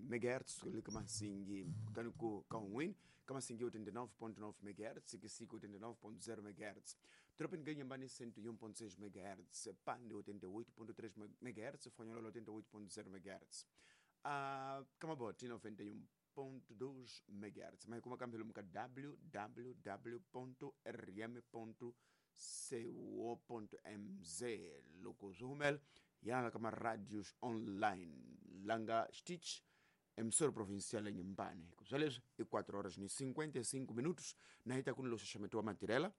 MHz le ka Masingi, kutani ku ka un'wini ka Masingi 89.9 MHz, Kisiko 89.0 MHz, Tropini ka Inhambane 101.6 MHz, Pande 88.3 MHz, Fonholola 88.0 MHz, Kamaboti 91.2 MHz. Ma hi kuma kambe lomu ka www.rm.co.mz loko swi humela yana ka maradios online langa xitichi emissora provincial ya Inhambane. Swa leswi i 4 horas ni 55 minutos na hi ta ku ni lo xaxameti wa matirhela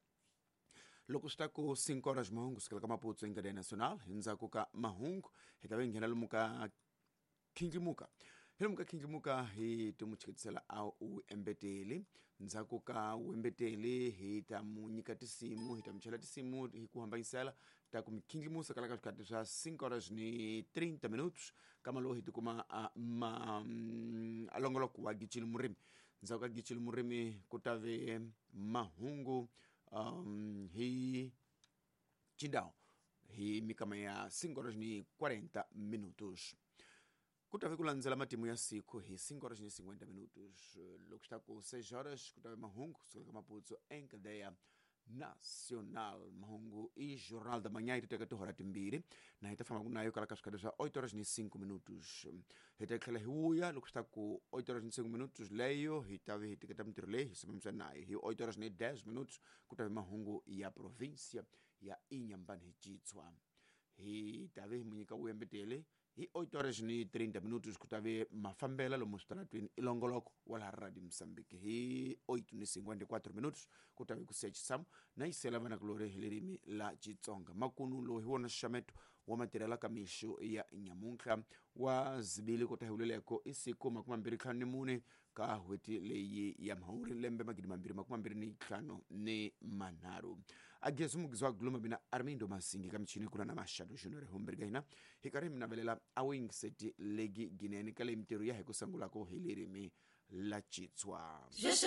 loko swi ta ku 5 horas mahungu sukela ka Maputo enkadeya nacional. Hi ndzhaku ka mahungu hi ta va hi nghena lomu ka khindlimuka, hi lomu ka khindlimuka hi ti mu chiketisela a u embeteli. Ndzhaku ka u embeteli hi ta mu nyika tinsimu, hi ta mu chela tinsimu hi ku hambanyisela ta ku mi khindlimusa kala ka swikhati swa 5 horas ni 30 minutos. Kama lowu hi tikuma a ma a longoloko wa Gicili Murimi. Ndzhaku ka Gicili Murimi ku ta ve mahungu hi Chindao hi mikama ya 5 horas ni 40 minutos. Ku ta ve ku landzela matimu ya siku hi 5 horas ni 50 minutos. Loko swi ta ku 6 horas ku ta ve mahungu kusukela ka Maputo enkadeya nacional. Mahungu i Jornal da Manhã, yi ti teka tihora timbirhi na hi ta famba nayo kala ka swikhati swa 8 horas ni 5 minutos. Hi ta tlhela hi vuya loko swi ta ku 8 horas ni 5 minutos leyo hi ta ve hi teketa mintirho leyi hi simamisa nayo. Hi 8 horas ni 10 minutos ku ta ve mahungu ya provincia ya Inhambane hi Chitshwa, hi ta ve hi mu nyika vuyembeteli. Hi 8 horas ni 30 minutos ku ta ve mafambela lomu switaratwini i longoloko wa laha Radio Mozambique. Hi 8 ni 54 minutos ku ta ve ku siya xitshamo na yisela vanakulori hi ririmi la Xitsonga. Makunu lowu hi wona xaxameto wa matirhela ka mixo ya nyamuntlha wa zibili ku ta hi vuleleko i siku 24 ka hweti leyi ya Mhawuri lembe 2023. Agezi mugizi wa guluma mina Armindo Masingi, ka michini kula na Mashado Junior Humberga. Hina hi karhi mi navelela a wingiseti legi ginene ka leyi mintirho ya hi ku sangulako hi ririmi la Chitswa.